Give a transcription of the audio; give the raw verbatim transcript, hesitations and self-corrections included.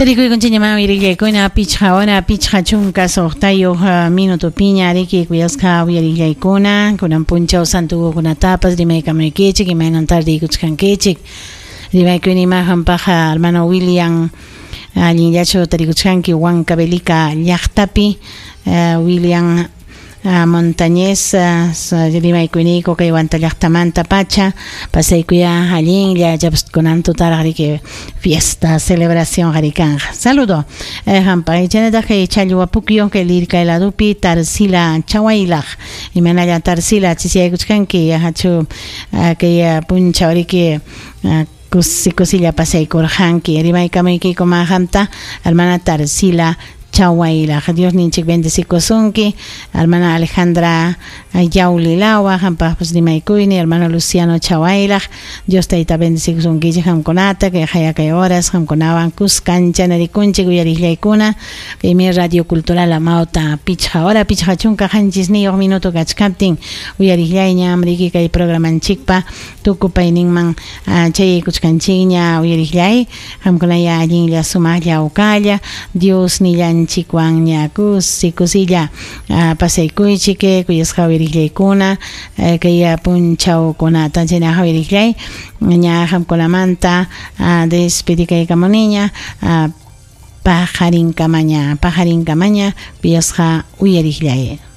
Tarikuykunchikña uyariqllaykuna pichqa hora pichqa chunka suqtayuq minutupiña riki kuyasqa uyariqllaykuna kunan punchaw santukunatapas rimaykamuykichik imaynan tardiykuchkankichik rimaykuni mahanpaqa hermano William allinllachu tarikuchkanki Huancavelica llaqtapi William Montañez rimaykuyniku kay Huanta llaqtamanta pacha pasaykuya allinlla kunan tutaraq riki fiesta celebración qarikanqa saludo hampa chaynataq kay Challwapukyo kay Lircay ladupi Tarsila Chawaylaq imanalla Tarsila chisiyaykuchkanki yahachu kay punchaw riki kusi kusilla pasaykurqanki rimaykamaykiku mahamta hermana Tarsila Chawaylaq Dios ninchik bendecikusunki hermana Alejandra Yaulilawa hampaqpas rimaykuyni hermano Luciano Chawaylaq Dios tayta bendecikusunkichik hamkunata kay hayakay horas hamkunawan kuskancha narikunchik uyariqllaykuna kaymi Radio Cultural Amauta pichqa hora pichqa chunka qanchisniyuq minuto kachkaptin uyariqllayña amriki kay programanchikpa tukupayninman chayaykuchkanchikña uyariqllay hamkunaya allinlla sumaqlla ukalla Dios nillan chikwanña kusi kusilla pasaykuychik kuyasqa uyariqllaykuna kay punchawkunata chaynaqa uyariqllay ña hamkunamanta despedikaykamuniña paqarinkamaña paqarinkamaña kuyasqa uyariqllay.